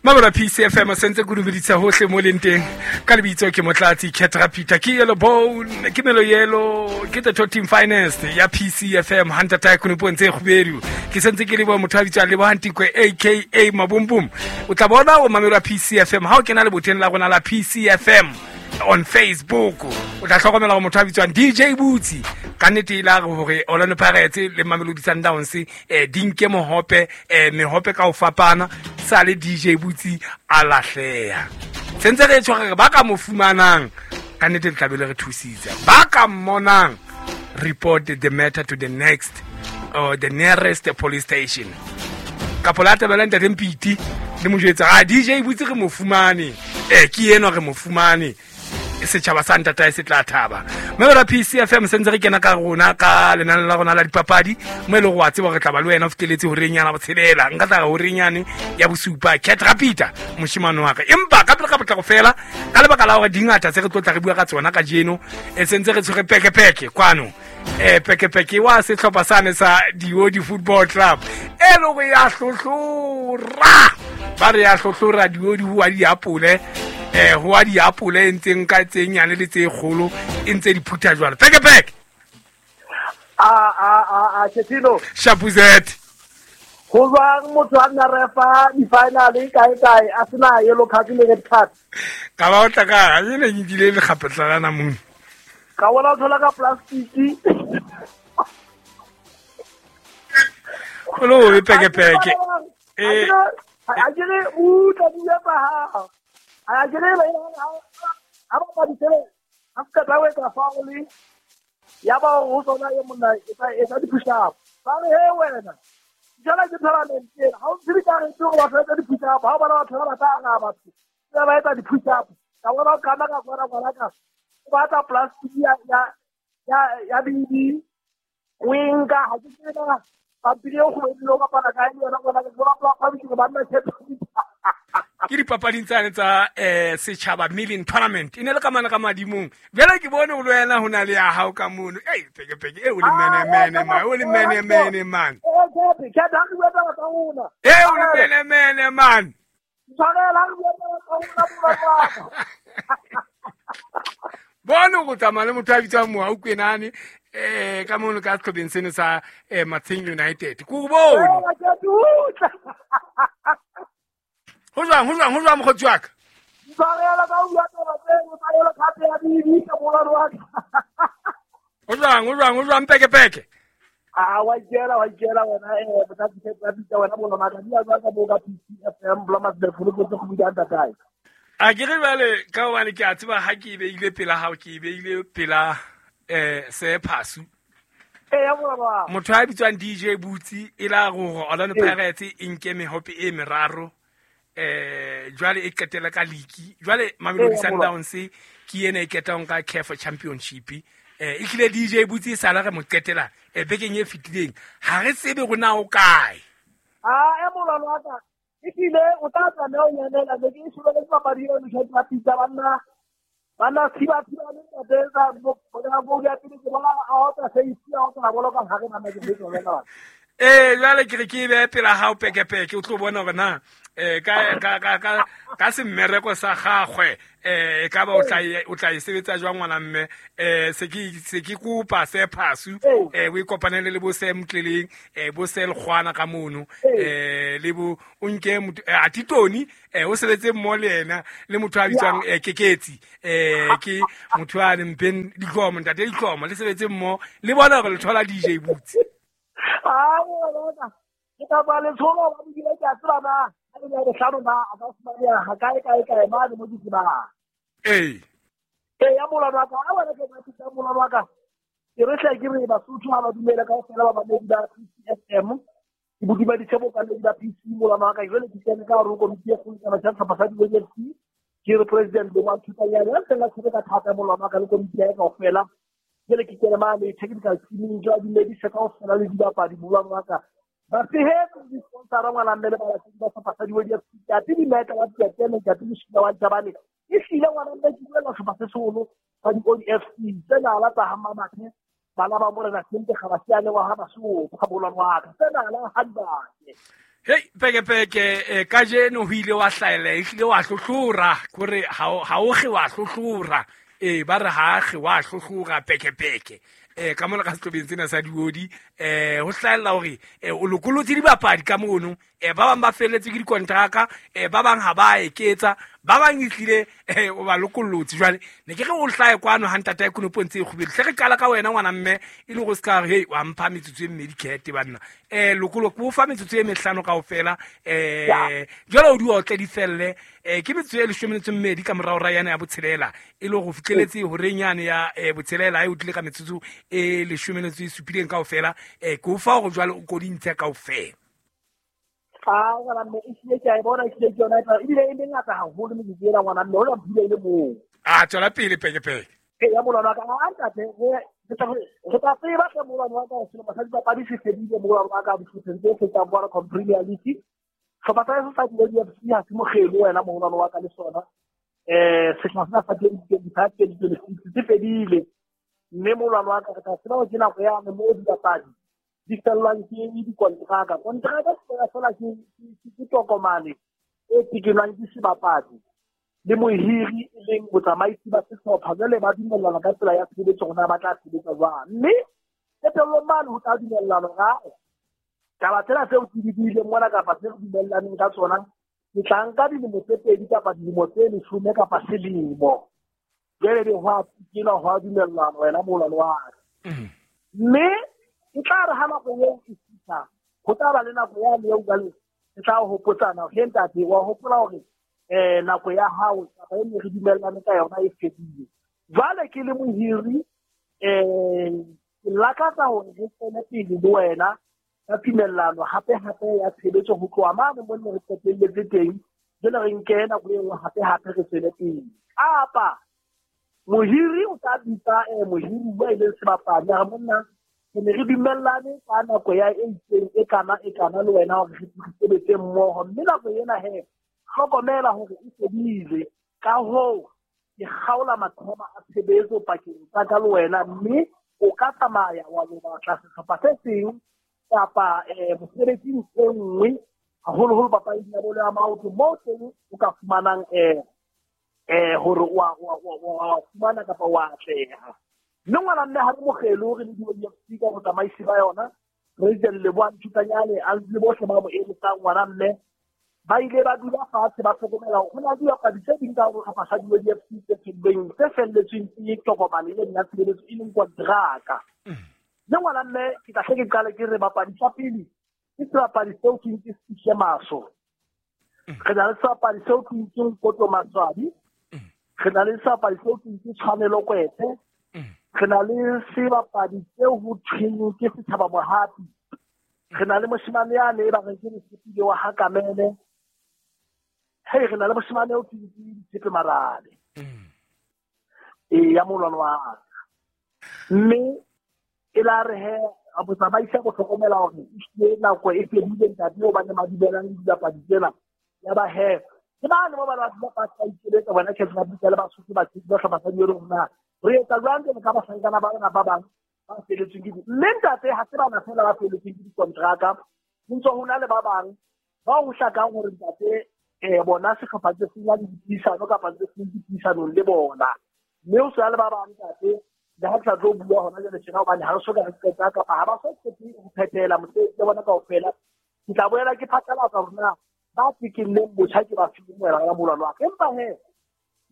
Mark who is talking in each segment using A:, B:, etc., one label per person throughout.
A: Mabala PCFM sentse ke dumedisa hohle mo leng teng ka lebitso ke Motlatsi Ketra Peter ke yellow bone ke melo yellow ke the top team finest ya PCFM Hunter Tycoon puong tse kgubedu ke sentse ke leboha motho a bitswang Lebohang Tikwe aka Mabumbum o tla bona o mamelwa PCFM ha o kena leboteng la rona la PCFM on Facebook o tla hlokomela gore motho a bitswang DJ Butsi ka nnete e la re gore Orlando Pirates le Mamelodi Sundowns di nke mohope mehope ka ho fapana sa le DJ Butsi a lahleha sentse re tshware re ba ka mo fumanang ka nnete le tlabe le re thusitse ba ka mmonang report the matter to the next or the nearest police station kapo la tabela ntate Mpiti le mo jwetsa a DJ Butsi re mo fumane ke enwa re mo fumane setšhaba sa ntatae se tla thaba mme ra PCFM sentse re kena ka rona ka lenane la rona la dipapadi mo e leng go wa tseba re tla ba le wena o feteletse horeng yana botshelela nka tla horeng yane ya bosupa cat rapita moshimane wa ka empa ka pele ka potlako fela ka lebaka la gore dingata tse re tlo tla re bua ka tsona ka jeno e sentse re tshwere pekepeke kwano pekepeke wa setlhopha sane sa Diodi Football Club e le go ya hlohlora ba re ya hlohlora Diodi ho wa diapole ho wa diapole e ntseng ka tse nyane le tse kgolo e ntse di phutha jwalo pekepeke
B: a Chetino
A: Shapuzet
B: ho jwang motho a nna refa di-final kae kae a sena yellow card le red card
A: ka ba o tla ka e ne ke kile lekgapetla la namune
B: ka bona o thola ka plastic
A: o lo be pekepeke
B: a ke re utlwa dilo tsa hao a ke re ha ba ba ditshele a ka tla wetsa foul ya ba ho sona e monna e tsa di-push up ba re he wena jala ke tournament ena ha o tsebe ka re ke gore batho ba etsa di-push up ha o bona batho ba ba tla araba batho ba etsa di-push up ka bona o kama ka kwana kwana ka o batla plastic ya BB o e nka ha ke tsebe pampiri eo go e bapala kae le yona ngwana ke bona ba bitse ba nna
A: ke dipapading tsane tsa setšhaba million tournament e ne le ka mana ka madimong bjale ke bone o le wena ho na le ya hao ka mono ei pekepeke e o le menemene man o le menemene man e o le menemene man bone go tsamaya le motho a bitswang Mohau Kwenane ka mono ka setlhopheng seno sa Matsheng United ko bone ho jwang mokgotsi wa ka ho jwang pekepeke
B: a wa ikela wena wena bolomaka di a ka bo ka PCFM Blomas the full go go bida ntatae
A: a ke re jwale ka hobane ke a tseba ha ke e beile pela hao ke e beile pela se phasu motho a bitswang DJ Butsi e la gore Orlando Pirates e nke mehope e meraro jwale e qetela ka league jwale Mamelodi Sundowns ke ena e ketang ka CAF Championship e tlile DJ Butsi e sala re mo qetela bekeng e fetileng ha re tsebe rona o kae
B: a e molano wa ka e tlile o tla tlameha ho nyanela be ke e shebeletse papadi eno tjhe pitsa banna thiba le ntate tsa bo ya pele ke bona a otla seisi a otla bolo ka hare bana ke betso wena
A: jwale ke re ke be pela hao pekepeke o tlo bona hore na ka semmereko sa gagwe e ka ba o tla e sebetsa jwang ngwana mme se ke kopa se phasu o ikopanele le bo se Motleleng bo se Lekgwana ka mono le bo o nke Atitoni o sebetse mmo le yena le motho a bitswang Keketsi ke motho a leng Ben Dikhomo ntate Dikhomo le sebetse mmo le bona hore le thola DJ Butsi
B: ke ka ba le tsholo ba bile ke a tseba na a le re hlano na a ka fumaneha ha kae kae kae mane mo ke tsebang ya molano wa ka a wena ke ka molano wa ka ke re hle ke re Basotho ha ba dumele kaofela ba bamedi ba PCFM ke bodima ditshebo ka le ba PC molano wa ka jwale ke kene ka hore komiti e kgolo ya sehlopha sa Diodi FC ke re president bo Thutanyane a ntseng a tshwere ka thata molano wa ka le komiti ya kaofela jwale ke kene mane technical team jwa dumedise kaofela le dibapadi molano wa ka ba tshehetsa di-sponsora ngwana mme le balatedi ba sehlopha sa Diodi FC ke ate dimetla wa Diatene ke ate Moshina wa Jabane e hlile ngwana mme ke buela sehlopha se seholo sa Diodi FC tsena la tsa ha Mamathe bana ba morena Sente ga ba siane wa ha Basotho molwane wa ka tsena la ha dibake
A: Hei peke kajeno ho ile wa hlahella, ehlile wa hlohlora, kore ha o kge wa hlohlora. Ba re ha kge wa hlohlora peke. Ka mona ka sehlobeng sena sa diodi, ho hlahella hore o lokolotse dibapadi ka mono, ba bang ba felletse ke dikontraka, ba bang ha ba eketsa, ba bang ehlile o ba lokollotse. Jwale ne ke re o hlahe kwano ha ntatae konopo ntse e kgubedu. Hle re qala ka wena ngwana mme, e le hore o se ka re, hei, wa mpha metsotso e mmedi kete banna. Lokolo ke o fa metsotso e mehlano kaofela, jwale o di otle di felle. Ke metsotso e leshome metso e mmedi ka morao ra yane ya botshelela, e le hore o fihleletse horeng yane ya botshelela, e o tlile ka metsotso e leshome metso e supileng kaofela. Ke o fa hore jwale o ko di ntshe kaofela.
B: Ah, ngwana mme, ehlile ke a e bona, ehlile ke yona e tla, ebile e mengata haholo metsotso ena, ngwana mme, hola mphile e le moo.
A: Ah, tswela pele, peke, peke.
B: Ee, ya molwana wa ka, a ntate, re tla tseba hle molwana wa ka, hore selemo sa dipapadi se fedile, molwana wa ka, dihlopheng tse fetang Vodacom Premier League. Sehlopha sa heso sa Dioli FC ha se mokgelo wena moholwane wa ka le sona. Sehla sena sa 2025, 2026 se fedile. Mme moholwane wa ka, re tla tseba hore ke nako yane moo dibapadi di fellwang ke dikontraka. Kontraka fela fela ke tokomane e tekenwang ke sebapadi le mohiri e leng botsamaisi ba sehlopha. Jwale ba dumellana ka tsela ya tshebetso hore na ba tla sebetsa jwang. Mme qetellong mane ho tla dumellana hore ae, taba tsena tseo ke di buileng mona kapa tse re dumellaneng ka tsona, ke tla nka dilemo tse pedi kapa dilemo tse leshome kapa selemo. Jwale be ho a tekenwa, ho a dumellana wena moholwane wa ka. Mme e tla re ha nako eo e fihla, ho tla ba le nako yane eo jwale e tla hopotsana hore, ntate, wa hopola hore nako ya hao kapa e ne re dumellane ka yona e fedile. Jwale ke le mohiri, ke lakatsa hore re tswele pele le wena ka tumellano hape hape ya tshebetso ho tloha mane mo ne re qetelletse teng, jwale re nke nako e nngwe hape hape re tswele pele. Kapa mohiri o tla bitsa mohiri wa e leng sebapadi, a re monna, re ne re dumellane ka nako ya e itseng e kana e kana le wena hore re sebetse mmoho, mme nako ena he hlokomela hore e fedile. Ka hoo ke kgaola maqhama a tshebetso pakeng tsa ka le wena, mme o ka tsamaya wa lo batla sehlopha se seng kapa mosebetsing e nngwe, haholoholo papading ya bolo ya maoto, moo teng o ka fumanang hore wa fumana kapa wa atleha. Mme ngwana mme ha re mokgelo re le di FC ka botsamaisi ba yona, President Lebohang Thutanyane a le bohle ba mo eletsang ngwana mme, ba ile ba dula fatshe ba hlokomela hore ho na le dibapadi tse ding ka hore sehlopha sa di FC tse felletsweng, tse felletsweng ke tokomane e leng ya tshebeletso e leng kontraka. Mme ngwana mme ke tla hle ke qale ke re bapadi tsa pele ke sebapadi seo ke ke Sihle Maso. Re na le sebapadi seo ke ke Nkoto Maswabi. Re na le sebapadi seo ke ke Tshwanelo Kwete. Re na le sebapadi seo ho thweng ke Setjhaba Mohapi. Re na le moshemane yane e ba reng ke Mosepele wa Hakamele. Hei, re na le moshemane eo ke Tshepe Marabe. Ya molwano wa ka. Mme e la re he, a botsamaisi a bo hlokomela hore ehlile nako e fedile ntate eo ba ne ba dumelang le dibapadi tsena. Ya ba he, ke bane mo ba ba dula fatshe ba ikeletsa bona Khetho ba bitsa le Basotho ba tshepe ba hlopha sa diolo hore na re etsa jwang jwale ka bahlankana ba rona ba bang ba feletsweng ke di-, mme ntate ha se bana fela ba feletsweng ke dikontraka, ho ntse ho na le ba bang ba ho hlakang hore ntate, bona sehlopha se seng ya le dipuisano kapa se seng dipuisanong le bona. Mme ho sa le ba bang ntate, le ha ke sa tlo bua hona jwale tjena hobane ha re soka re qeta kapa ha ba so qete ho phethela mosebetsi wa bona kaofela. Ke tla boela ke phatlalatsa hore na ba tekenneng botjha ke ba fileng moela wa molwano wa ka. Empa he,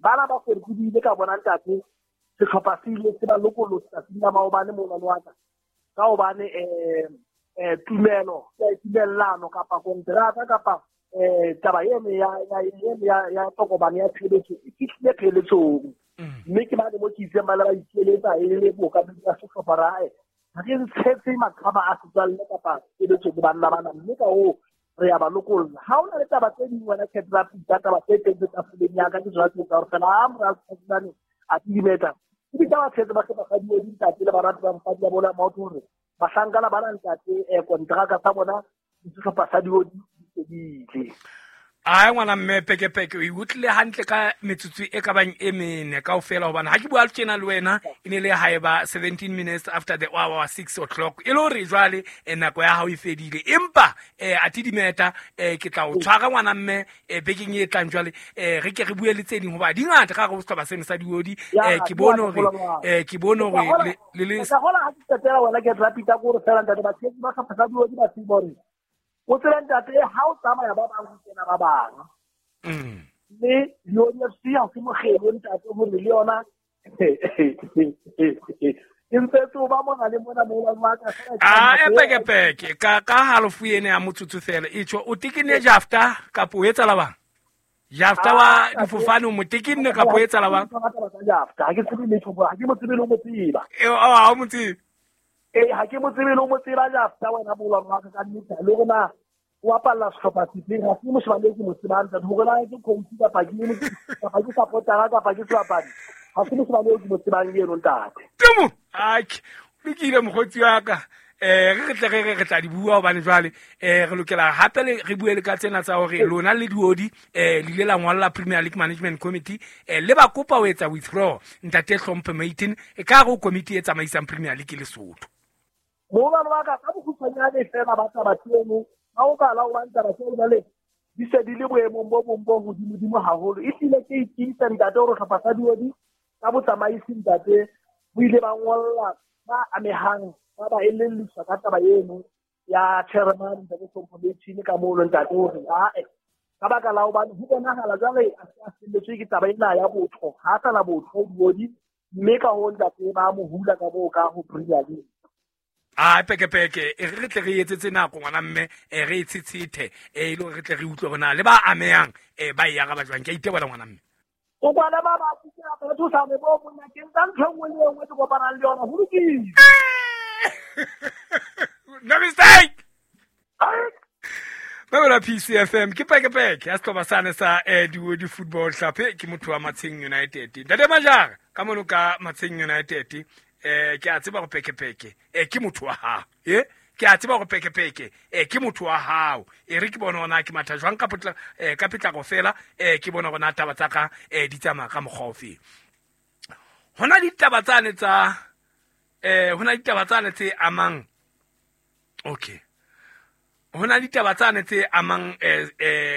B: bana ba fedile ka bona ntate, sehlopha se ile se ba lokolotse tsatsing la maobane molwano wa ka. Ka hobane, tumelo, tumellano kapa kontraka kapa, taba eno ya tokomane ya tshebetso e fihlile pheletsong. Mme ke bane mo ke itseng ba le ba ikeletsa e le bookamedi ba sehlopha ra hae. Ha re ntshetse maqhama a setswalle kapa tshebetso le banna bana, mme ka hoo re ya ba lokolla. Ha ho na le taba tse ding wena Khetho la Pita, taba tse teng tse tafoleng ya ka, ke tsona tse tsa hore fela ha mora Tsatsi a timeta. Ke ditaba tse ba hloka ba di ntate le barati ba mosadi ya bolo ya maoto hore bahlankana ba na ntate, kontraka tsa bona le sehlopha sa diodi di fedile.
A: Ai ngwana mme pekepeke o utlwile hantle ka metsotso e ka bang e mene kaofela, hobane ha ke bua tjena le wena e ne le haeba 17 minutes after the hour 6 o'clock, e le hore jwale nako ya hao e fedile. Empa a dimeta ke tla o tshwara ngwana mme bekeng e tlang jwale re ke re bue le tse ding, hoba di ngata ka hare ho sehlopha seno sa Diodi. Ke bone hore ke bone hore le
B: le hola ha ke qetela wena ke rapita ko re fela ntate ba tshehetsi ba sehlopha sa Diodi ba tsebe hore o tsebe ntate ha o tsamaya ba bang ho kena ba bang. Mme Diodi FC ha se mokgelo ntate hore le yona e ntse tso ba mona le mona mo ba ka.
A: A peke peke ka halofo ene ya motsotso fela e tjho o tekenne jafta kapa o etsa la bang jafta wa difofane o mo tekenne kapa o etsa la bang?
B: Jafta ha ke tsebe letho, ha ke mo tsebe le ho mo tseba.
A: Ha o mo tsebe?
B: Ee, ha ke mo tsebe le ho mo tseba jafta wena molwano wa ka ka nnete, le hore na o apalla sehlopha sefeng ha se moshemane e ke mo tsebang ntate, hore na ke coach kapa ke supportera kapa ke sebapadi, ha se moshemane eo ke mo tsebang eno ntate.
A: Temo ake lokile mokgotsi wa ka, re tle re tla di bua hobane jwale re lokela hape re bue le ka tsena tsa hore lona le Diodi le ile la ngolla Premier League Management Committee le ba kopa ho etsa withdraw ntate Hlomphe Maitin e ka hare ho komiti e tsamaisang Premier League Lesotho.
B: Molwano wa ka ka bokgutshwanyane fela ba taba tseno ha o bala o bang taba tseo jwale di se di le boemong bo bong bo hodimodimo haholo. Ehlile ke itiisa ntate hore hlopha sa Diodi ka botsamaisi ntate bo ile ba ngolla ba amehang ba ba elelliswa ka taba eno ya chairman ntate Hlompho Maitin ka mono ntate hore ae ka baka la hobane ho bonahala jwale a se a felletswe ke taba ena ya botho, ha a sana botho Diodi, mme ka hoo ntate ba mo hula ka moo ka ho Premier League.
A: A peke peke e re tle re etsetse nako ngwana mme re e tshetshete e le hore re tle re utlwe hore na le ba amehang ba e araba jwang. Ke a itebola ngwana mme.
B: O kwana ba ba ke a thusa me bo monna ke nka ntho e nngwe le e nngwe ke kopanang le yona ho lokile.
A: No mistake. Ba PCFM ke peke peke ya sehlopha sane sa Diodi Football Club, ke motho wa Matsheng United. Ntate Majara ka mono ka Matsheng United ke a tseba go peke peke ke motho wa hao, ke a tseba go peke peke ke motho wa hao. E re ke bone hona ke matha jwang ka potla ka potlako fela, ke bone hona taba tsa ka di tsamaya ka mokgwa ofe. Hona ditaba tsane tsa hona ditaba tsane tse amang, okay, hona ditaba tsane tse amang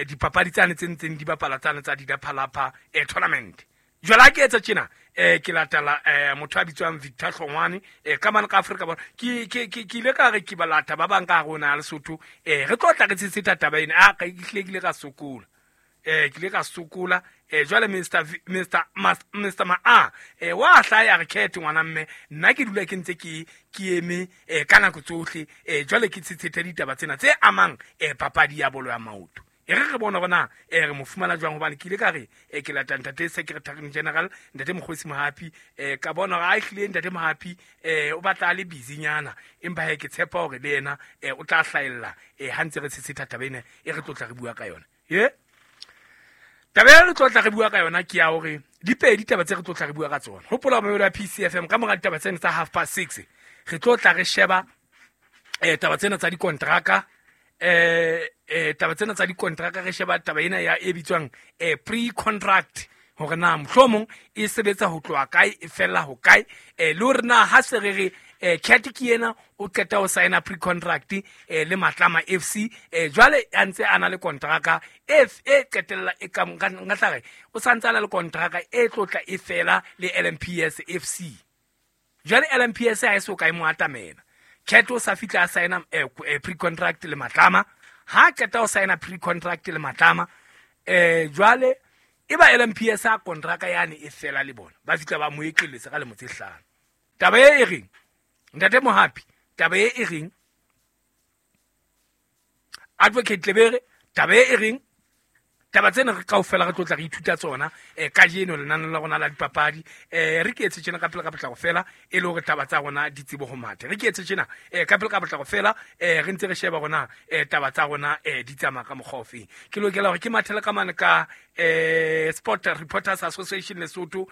A: dipapadi tsane tse ntseng di bapala tsane tsa Didaphalapha tournament. Jwale ha ke etsa tjena ke latela motho a bitswang Victor Hlongwane ka mane ka Afrika Borwa. Ke ile ka re ke balata ba bang ka hare ho naha Lesotho, re tlo tla re tshetsheta taba ena. A ka ke hlile ke ile ka sokola, ke ile ka sokola jwale Mr Ma wa hlaya re khethe ngwana mme nna ke dula ke ntse ke eme ka nako tsohle, jwale ke tshetshete ditaba tsena tse amang papadi ya bolo ya maoto. E re re bone hore na re mo fumana jwang, hobane ke ile ka re ke lata ntate Secretary General ntate Mokgosi Mohapi, ka bona hore a ehlile ntate Mohapi o batla a le busy nyana, empa he ke tshepa hore le yena o tla hlahella ha ntse re tshetsheta taba ena e re tlotla re bua ka yona. Taba e re tlotla re bua ka yona ke ya hore di pedi taba tse re tlotla re bua ka tsona. Hopola mamelo ya PCFM ka mora ditaba tsena tsa 6:30 re tlotla re sheba taba tsena tsa dikontraka, taba tsena tsa dikontraka re sheba taba ena ya e bitswang pre-contract, hore na mohlomong e sebetsa ho tloha kae e fella ho kae, le hore na ha se re re Cat ke yena o qeta ho signa pre-contract le Matlama FC, jwale a ntse a na le kontraka e qetella e ka nka tla re o santse a na le kontraka e tlotla e fela le LMPS FC. Jwale LMPS ha e so kae mo atamela. Cat o sa fihla a signa pre-contract le Matlama, ha qeta ho signa pre-contract le Matlama jwale e ba LMPS a kontraka yane e fela le bona ba fihla ba mo ekeletsa ka lemo tse 5. Taba e reng ntate Mohapi, taba e reng Advocate Lebere, taba e reng taba tsena re kaofela re tlotla re ithuta tsona kajeno lenaneo la rona la dipapadi. Re ke etse tjena ka pele ka potlako fela e le hore taba tsa rona di tsebe ho matha. Re ke etse tjena ka pele ka potlako fela re ntse re sheba rona taba tsa rona di tsamaya ka mokgwa ofeng. Ke lokela hore ke mathele ka mane ka Sport Reporters Association Lesotho,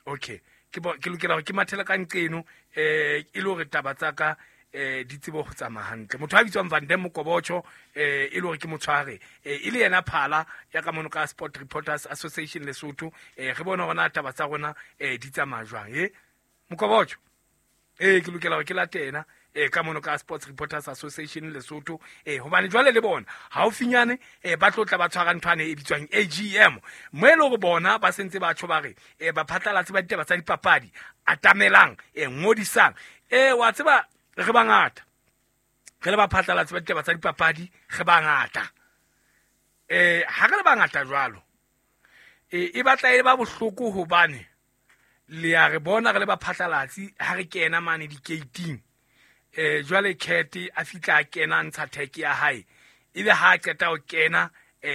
A: okay, ke lokela hore ke mathele ka nqeno e le hore taba tsa ka di tsebe go tsamaya hantle. Motho a bitswang Van Dam Mokobocho e le gore ke motshware e le yena phala ya ka mono ka Sport Reporters Association Lesotho. Re bone gona taba tsa rona di tsamaya jwang. Mokobocho ke lokela gore ke latena ka mono ka Sports Reporters Association Lesotho, hobane jwale le bona haufinyane ba tlo tla ba tshwara nthwane e bitswang AGM, mo e le hore bona ba sentse ba tjho ba re baphatlalatsi ba ditaba tsa dipapadi atamelang, ngodisang. Wa tseba re bangata, re le baphatlalatsi ba ditaba tsa dipapadi re bangata. Ha re le bangata jwalo, e batla e ba bohloko hobane le a re bona re le baphatlalatsi ha re kena mane di-gating. Jwale Cat a fitla a kena ntsha tag ya hae, ebe ha a qeta ho kena,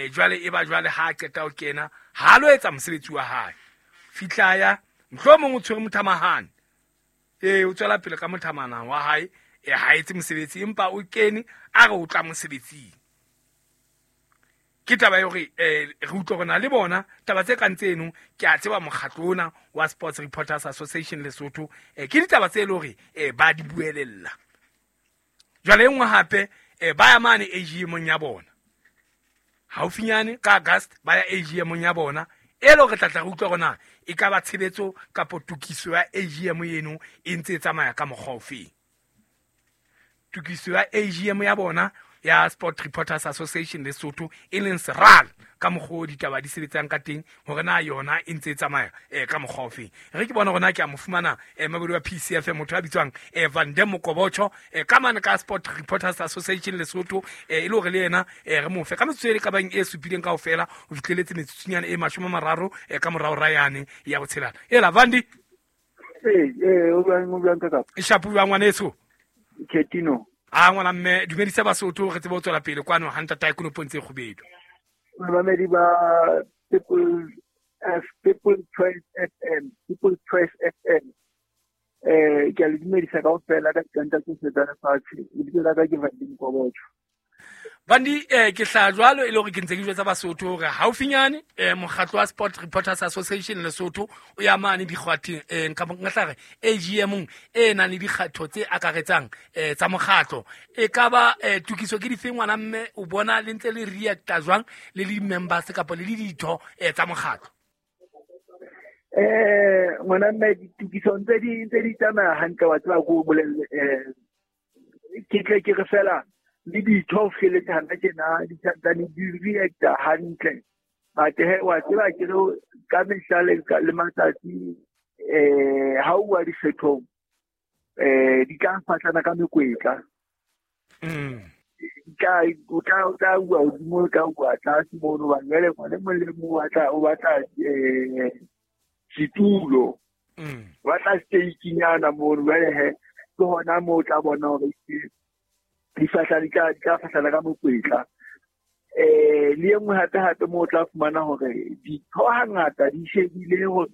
A: jwale e ba jwale ha a qeta ho kena ha lo etsa mosebetsi wa hae, fitla ya mohlomong o tshwere mothamahane, o tswela pele ka mothamana wa hae, ha etse mosebetsi empa o kene a re o tla mosebetsing. Ke taba ya hore re utlwe rona le bona taba tse kang tseno. Ke a tseba mokgatlo ona wa Sports Reporters Association Lesotho, ke ditaba tse le hore ba di buelella. Jwale e nngwe hape, ba ya mane AGM ya bona haufinyane ka August, ba ya AGM ya bona e le hore tla re utlwa rona e ka ba tshebetso kapo tokiso ya AGM eno e ntse e tsamaya ka mokgwa ofeng. Tokiso ya AGM ya bona ya Sport Reporters Association Lesotho e leng SRAL, ka mokgwa ditaba di sebetsang ka teng hore na yona e ntse e tsamaya ka mokgwa ofeng. Re ke bona rona ke a mo fumana mabedi wa PCFM, motho a bitswang Van Dam Mokobocho, ka mane ka Sport Reporters Association Lesotho, e le hore le yena re mo fe ka metsotso e ka bang e supileng kaofela ho fihleletse metsotsonyana e 30 ka morao ra yane ya botshelana. Ela Vandi,
C: o bang ka kapa
A: shapu wa ngwaneso
C: Ketino.
A: A ngwana mme dumedisa Basotho re tsebe ho tswela pele kwano ha ntata konopo ntse kgubedu.
C: Bamamedi ba People Choice FM, People Choice FM. Ke a le dumedisa kaofela ka dikanta tsohle tsa lefatshe. Lebitso la ka ke Vandi Mokobocho.
A: Vandi, ke hlaha jwalo e le hore ke ntse ke jwetsa Basotho hore haufinyane mokgatlo wa Sport Reporters Association Lesotho o ya mane dikgwatheng, nka tla re AGM e nang le dikgatho tse akaretsang tsa mokgatlo. E ka ba tokiso ke dife ngwana mme o bona le ntse le reacta jwang le le members kapa le le ditho tsa mokgatlo?
C: Ngwana mme ditokiso ntse di tsamaya hantle, wa tseba ko bolelle, ke tle ke re fela le ditho feletse hana tjena di santsane di reacta hantle. But he wa tseba ke re ka mehla le matsatsi, ha o bua dikgethong, di tla fatlana ka mekwetla. O tla bua hodimo, o tla bua tlase mono, hobane jwale ngwana e mong le mong o batla setulo, o batla stake-nyana mono. Jwale he ke hona moo o tla bona hore di fahla di tla fahlana ka mokwetla. Le e nngwe hape moo o tla fumana hore ditho hangata di shebile hore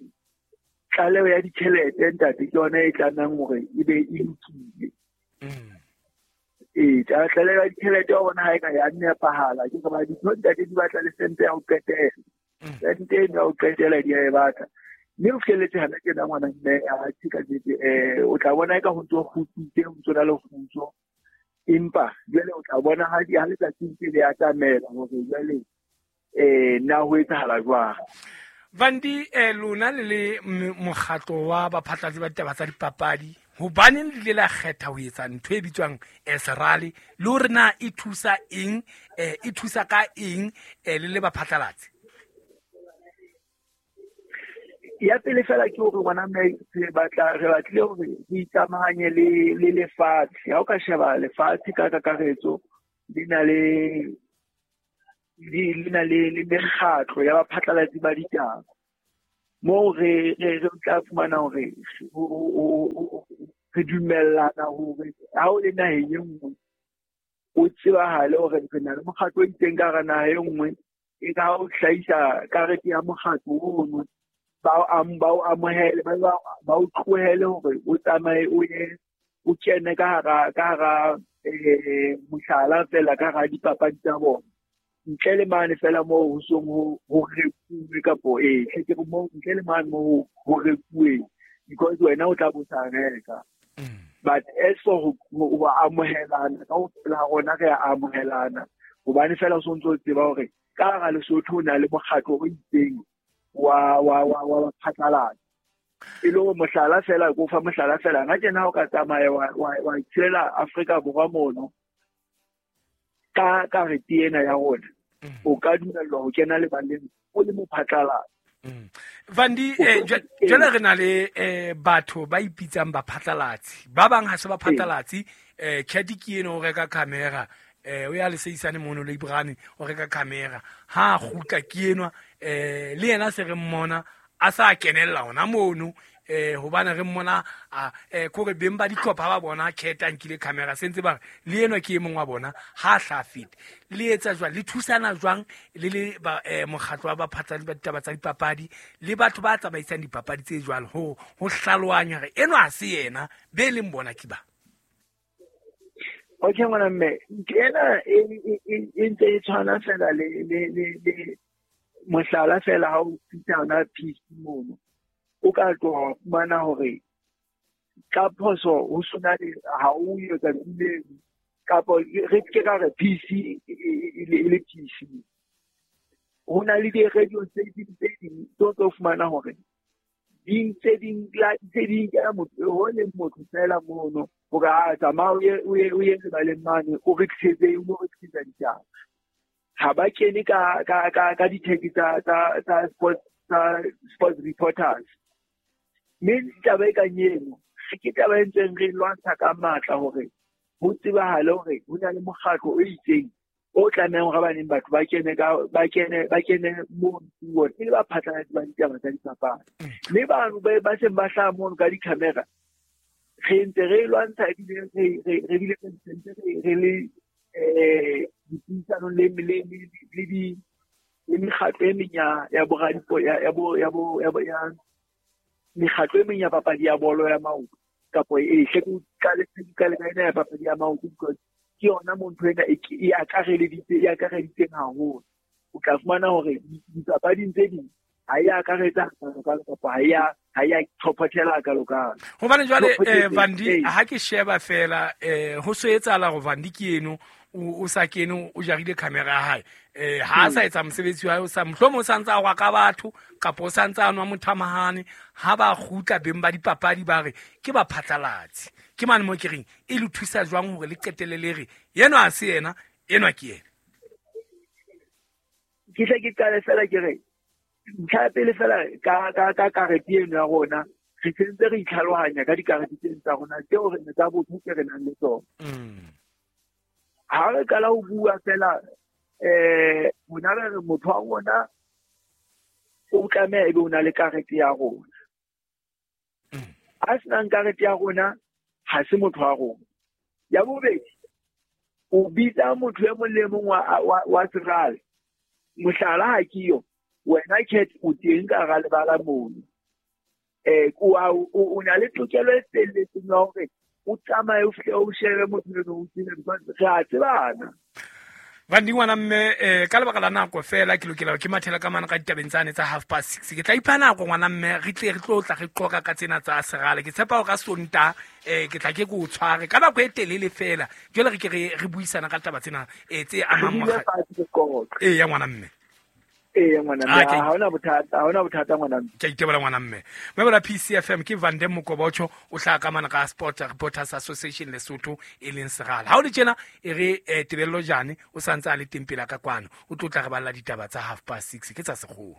C: tlaleho ya ditjhelete ntate ke yona e tlamehang hore e be e lokile. Tlaleho ya ditjhelete wa bona ha e ka ya nepahala, ke ba ditho ntate di batla le sente ya ho qetela. Sente eno ya ho qetela di a e batla. Mme o fihlelletse hana tjena ngwana mme a tjhe ka nnete, o tla bona eka ho ntso kgutsitse, ho ntso na le kgutso. Empa jwale o tla bona ha letsatsi ntse le atamela hore jwale na ho etsahala jwang.
A: Vandi, lona le le mokgatlo wa baphatlalatsi ba ditaba tsa dipapadi, hobaneng le ile la kgetha ho etsa ntho e bitswang SRAL, le hore na e thusa eng, e thusa ka eng, le le baphatlalatsi?
C: Ya pele fela ke hore ngwana mme re batlile hore re ikamahanye le lefatshe. Ha o ka sheba lefatshe ka kakaretso le na le mekgatlo ya baphatlalatsi ba ditaba, moo re tla fumana hore re dumellana hore ha o le naheng e nngwe o tsebahale hore re na le mokgatlo o itseng ka hara naha e nngwe, e ka ha o hlahisa karete ya mokgatlo ono, ba o amohele, ba o tlohele hore o tsamaye o ye o kene ka hara mohlala fela ka hara dipapadi tsa bona, ntle le mane fela moo ho song ho rekuwe kapo hle ke re moo ntle le mane moo ho rekuwe, because wena o tla bo sa reka. But as for ho amohelana ka ho la rona, re a amohelana hobane fela o sontso o tseba hore ka hara Lesotho o na le mokgatlo o itseng wa phatlalatsa. E le hore mohlala fela, ko fa mohlala fela, nna tjena ha o ka tsamaya wa itshela Afrika Borwa mono ka karete ena ya rona, o ka dumellwa ho kena lebaleng o le mophatlalatsi.
A: Vandi, jwale re na le batho ba ipitsang baphatlalatsi, ba bang ha se baphatlalatsi. Cat ke eno o reka camera, o ya leseisane mono le Ibrahim o reka camera, ha kgutla ke enwa le yena se re mmona a sa kenella hona mono, hobane re mmona kore beng ba dihlopha ba bona Cat a nkile camera, se ntse ba re le enwa ke e mong wa bona, ha hla fete. Le etsa jwang, le thusana jwang le le ba mokgatlo wa baphatlalatsi ba ditaba tsa dipapadi le batho ba tsamaisang dipapadi tse jwalo ho hlaloanya re enwa ha se yena be leng bona ke ba?
C: Okay ngwana mme, ena e ntse e tshwana fela le mohlala fela ha o fihla hona PC mono, o ka tloha wa fumana hore ka phoso ho sona le ha o yo tsatsi le kapo re ke ka re PC e le PC. Ho na le di-radio tse ding tse tlo fumana hore di tse ding la tse ding ka motho ho le motho fela mono hore a tsamaya o ye lebaleng mane o re tlisetse o re tlisetsa ditaba. Ha ba kene ka di-tag tsa sports reporters. Mme taba e kang eno ke taba e ntseng re lwantsha ka matla hore ho tsebahale hore ho na le mokgatlo o itseng o tlamehang hore baneng batho ba kene mono e le baphatlalatsi ba ditaba tsa dipapadi. Mme bano ba seng ba hlaha mono ka di-camera, re ntse re lwantsha ebile re bile re le dipuisanong le mekgatlo e meng ya boradipo ya mekgatlo e meng ya papadi ya bolo ya maoto kapo e hle ke qale ka ena ya papadi ya maoto, because ke yona mo ntho ena e akareditseng haholo. O tla fumana hore dipapading tse ding ha e akaretsa hakalo kapa ha ya tlhophothela hakalo-kalo.
A: Hobane jwale Vandi, ha ke sheba fela ho so etsahala hore Vandi ke eno o sa kene o jarile camera ya hae, ha a sa etsa mosebetsi wa hae, o sa mohlomong o sa ntse a hwa ka batho kapa o sa ntse a nwa mothamahane, ha ba kgutla beng ba dipapadi ba re ke baphatlalatsi. Ke mane mo ke reng e le thusa jwang hore le qetelle le re enwa ha se yena, enwa ke yena?
C: Ke tle ke qale fela ke re ntlha ya pele fela ka karete eno ya rona, re sentse re itlhalohanya ka dikarete tseno tsa rona tseo re tsa botho tse re nang le tsona. Ha re qala ho bua fela rona re re motho wa rona o tlameha ebe o na le karete ya rona. A senang karete ya rona ha se motho wa rona. Ya bobedi, o bitsa motho e mong le mong wa serale. Mohlala ha ke yo, wena Cat o teng ka hara lebala mono. O na le tokelo e felletseng ya hore o tsamaye o fihle o shebe motho eno o tsebe, because re a tsebana.
A: Vandi ngwana mme, ka lebaka la nako fela ke lokela ke mathela ka mane ka ditabeng tsane tsa 6:30. Ke tla ipha nako ngwana mme, re tle re tlo tla re qoqa ka tsena tsa serale. Ke tshepa hore ka Sontaha ke tla ke go tshware ka nako e telele fela. Jwale re ke re buisana ka taba tsena tse amang ya ngwana mme.
C: Ngwana mme, ha hona bothata ngwana mme.
A: Ke itebola ngwana mme. Mme PCFM ke Vandem Mokobocho o hlaha ka mane ka Sport Reporters Association Lesotho e leng serala. Ha o le tjena e re Tebello Jane o santse a le teng pela ka kwano, o tlo tla re balla ditaba tsa 6:30 ke tsa sekgowa.